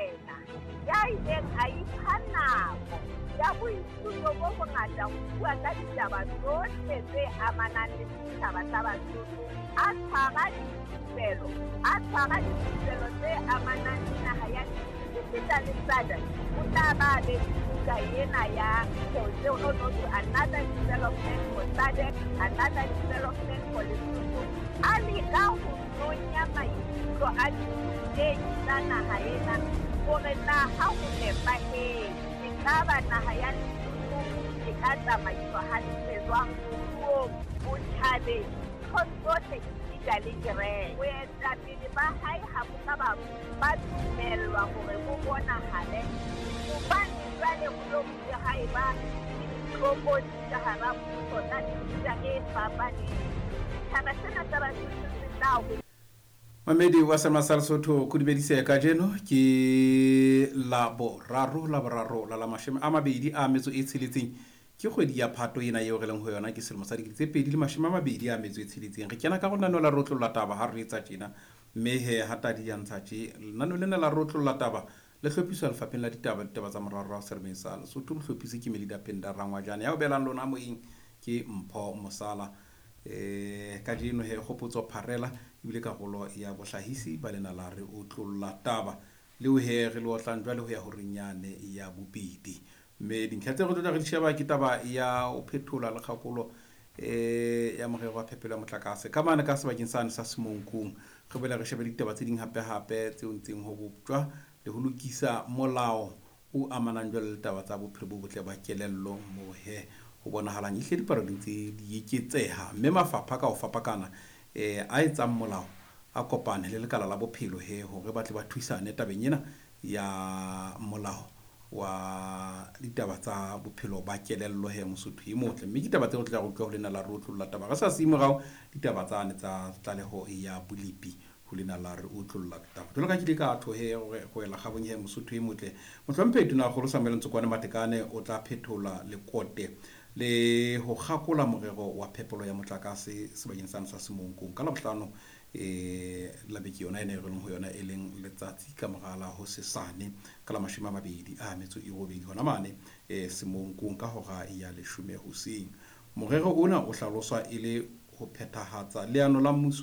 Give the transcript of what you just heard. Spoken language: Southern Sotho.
Morena ya ileng a ipha nako ya boithuto bo bongata ho bua ka ditaba tsohle tse amanang le setjhaba sa Basotho, a tshwara dithupelo, a tshwara dithupelo tse amanang le naha ya esita le SADC, o tla ba be le buka ena ya no no to another development for SADC, another development for Lesotho. A leka ho nonya maikutlo a dithutehi tsa naha ena hore na ha ho nepahetse ekaba naha ya Lesotho e ka tsamaiswa hantle jwang moruong, botjhabeng, nthong tsohle esita le kereke. Boetapele ba hae ha bo ka ba ba dumellwa hore bo bonahale hobane jwale ho lo bile ha eba le ditlokotsi ka hara mmuso tsa mefuta e fapaneng. Setjhaba sena sa Basotho se tla ho Mamedi wa Sema sa Lesotho kudumedise kajeno ke la boraro la boraro la la 26 ke kgwedi ya Phato ena eo re leng ho yona ke selemo sa 2026. Re kena ka go lenaneo la rotlolla taba ha re etsa tjena, mme he ha tadi ya ntsha tje lenaneo lena la rotlolla taba le hlophiswa lefapheng la ditaba ditaba tsa morarorao seremeng sa Lesotho. Mohlophisi ke Melida Penda Rangwajane, ya o beelang lona moyeng ke Mpho Mosala. Kajeno he Kgopotso Pharela ebile karolo ya bohlahisi ba lena la re otlolla taba leo he re le otlang jwale ho ya horeng yane ya bobedi. Mme dintlha tse re tlo tla re di sheba ke taba ya ho phethola le kgakolo ya morero wa phepelo ya motlakase ka mane ka sebakeng sane sa Semonkong. Re boela re shebe ditaba tse ding hape-hape tseo ntseng ho boptjwa le ho lokisa molao o amanang jwale le taba tsa bophelo bo botle ba kelello moo he ho bonahalang ehlile dipalo di ntse di eketseha, mme mafapha ka ho fapakana a etsang molao a kopane le lekala la bophelo he hore ba tle ba thusane tabeng ena ya molao wa ditaba tsa bophelo ba kelello he Mosotho e motle. Mme ke taba tseo re tla re utlwa ho lena la re otlolla taba re sa siye morao ditaba tsane tsa tlaleho ya bolepi ho lena la re otlolla taba. Jwalo ka ke ile ka tho he hore go ela kgabong he Mosotho e motle, Mohlomphehi Tonakgolo Samuel Ntsokoane Matekane o tla phethola lekote le ho kgakola morero wa phepelo ya motlakase sebakeng sane sa Semonkong ka Labohlano la beke yona ena e re leng ho yona, e leng letsatsi ka mora la hosesane ka la 28 hona mane Semonkong ka hora ya 10 hoseng. Morero ona o hlaloswa e le ho phethahatsa leano la mmuso